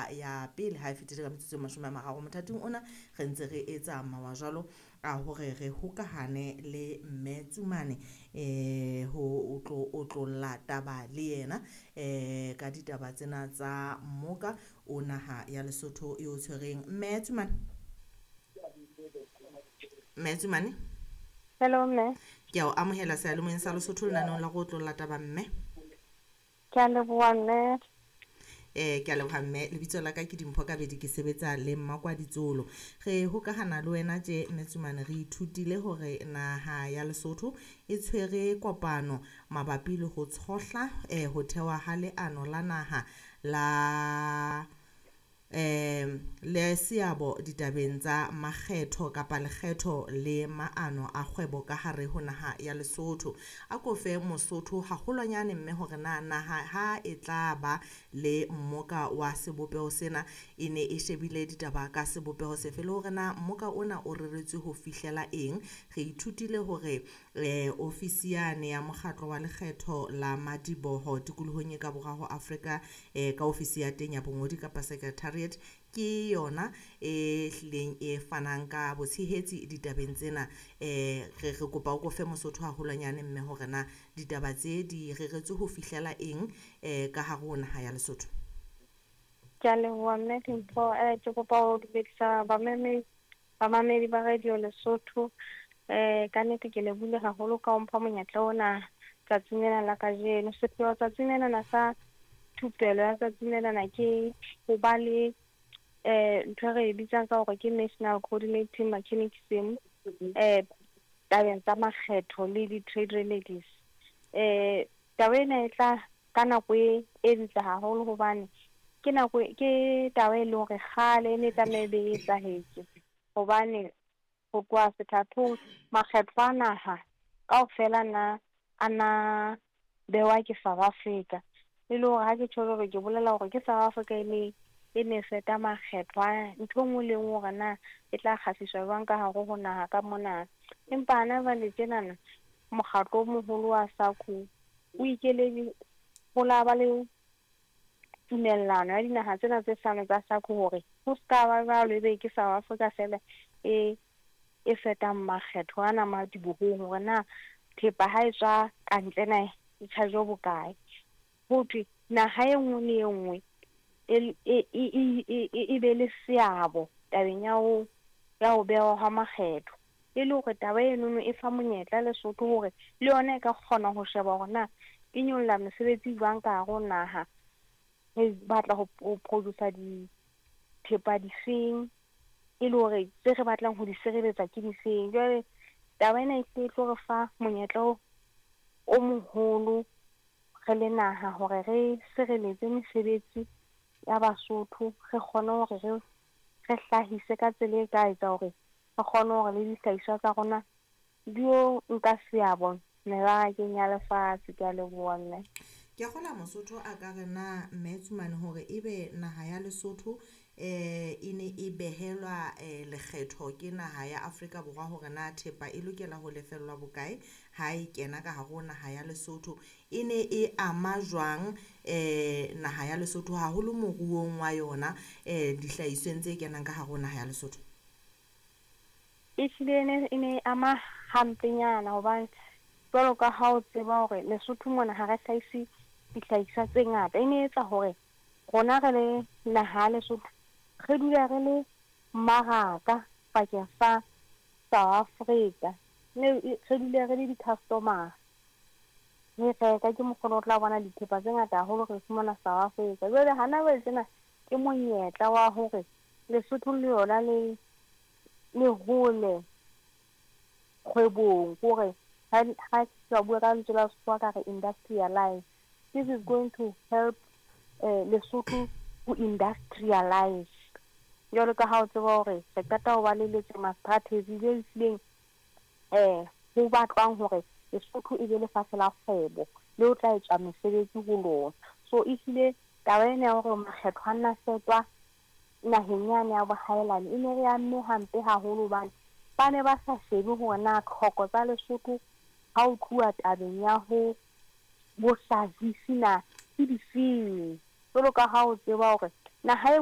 hora ya pele ha e fetile ka metsotso e 30. Mothating ona re ntse re etsa mawa jwalo a hore re hokahane le Mme Tsumane ho otlolla taba le yena ka ditaba tsena tsa mmoka o naha ya Lesotho e o tshwereng. Mme Tsumane, Mme Tsumane. Hello mme. Ke a o amohela seyalemoyeng sa Lesotho lenaneong la go otlolla taba mme. Ke a leboha mme. Ke a leboha mme, lebitso la ka ke Dimpho Kabedi, ke sebetsa le Mmakwaditsolo. Re hokahana le wena tje Mme Tsumane, re ithutile hore naha ya Lesotho e tshwere kopano mabapi le ho tshohla ho thewa ha leano la naha la le seabo ditabeng tsa makgetho kapa lekgetho le maano a kgwebo ka hare ho naha ya Lesotho. A ko fe Mosotho haholwanyane mme hore na naha ha e tla ba le mmoka wa sebopeho sena e ne e shebile ditaba ka sebopeho sefe, le hore na mmoka ona o reretswe ho fihlela eng. Re ithutile hore ofisi yane ya mokgatlo wa lekgetho la madiboho tikolohong e ka borwa ho Afrika ka ofisi ya teng ya bongodi kapa secretariat ke yona e hlileng e fanang ka botshehetsi ditabeng tsena. Re kopa o ko fe Mosotho haholwanyane mme hore na ditaba tse di reretswe ho fihlela eng ka hare ho naha ya Lesotho. Ke a leboha mme Dimpho. Ke kopa ho dumedisa bamamedi ba Radio Lesotho. Ka nnete ke lebohile haholo ka ho mpha monyetla ona tsatsing lena la kajeno. Sepheo tsatsing lena sa thupelo ya tsatsing lena ke ho ba le ntho e re e bitsang ka hore ke National Coordinating Mechanism tabeng tsa makgetho le di-trade remedies. Taba ena e tla ka nako e ntle haholo hobane ke nako ke taba e leng hore kgale e ne tlameha e be e etsahetse, hobane ho tloha sethathong makgetho a naha kaofela na a na bewa ke South Africa. E le hore ha ke tjho jwalo ke bolela hore ke South Africa e ne feta makgetho a ntho e nngwe le nngwe hore na e tla kgahliswa jwang ka hare ho naha ka mona. Empa hana jwale tjenana mokgatlo o moholo wa SACU o ikeledi ho la ba le tumellano ya dinaha tsena tse hlano tsa SACU hore ho ska ba jwalo ebe ke South Africa fela e fetang makgetho ana madibohong hore na thepa ha e tswa kantle na e charge bokae. Ho thwe naha e nngwe le e nngwe e be le seabo tabeng ya ho behwa ha makgetho, e le hore taba enono e fa monyetla Lesotho hore le yona e ka kgona ho sheba hore na e nyolla mesebetsi jwang ka hare ho naha, re batla ho produce dithepa difeng, e le hore tse re batlang ho di sireletsa ke difeng. Jwale taba ena e tlo re fa monyetla o moholo re le naha hore re sireletse mesebetsi ya Basotho, re kgone hore re hlahise ka tsela e ka etsa hore re kgone hore le dihlahiswa tsa rona di yo nka seabo mebarakeng ya lefatshe. Ke a leboha mme. Ke a kgolwa Mosotho a ka re na Mme Tsumane hore ebe naha ya Lesotho e ne e behelwa lekgetho ke naha ya Afrika Borwa hore na thepa e lokela ho lefellwa bokae ha e kena ka hare ho naha ya Lesotho, e ne e ama jwang naha ya Lesotho haholo moruong wa yona dihlahisweng tse kenang ka hare ho naha ya Lesotho? E hlile e ne ama hampenyana hobane jwalo ka ha o tseba hore Lesotho mona ha re hlahise dihlahiswa tse ngata, e ne etsa hore rona re le naha ya Lesotho re dula re le mmaraka pakeng sa South Africa, re dule re le di-customer, re reka ke mokgwa o tla bona dithepa tse ngata haholo re fumana South Africa. Jwale hana jwale tjena ke monyetla wa hore Lesotho le yona le hole kgwebong, hore ha ke bua ka lentswe la Sekgowa ka re industrialize. This is going to help Lesotho ho industrialize. Jwalo ka ha o tseba hore re qeta ho ba le letsema strategy le hlileng ho batlwang hore Lesotho e be lefatshe la kgwebo le ho tla etswa mesebetsi ho lona. So e hlile taba ena ya hore makgetho a nna fetwa naheng yane ya bohaelane e ne re amme hampe haholo hobane ba ne ba sa shebe hore na tlhoko tsa Lesotho ha ho tluwa tabeng ya ho bohlahisi na ke difeng. Jwalo ka ha o tseba hore naha e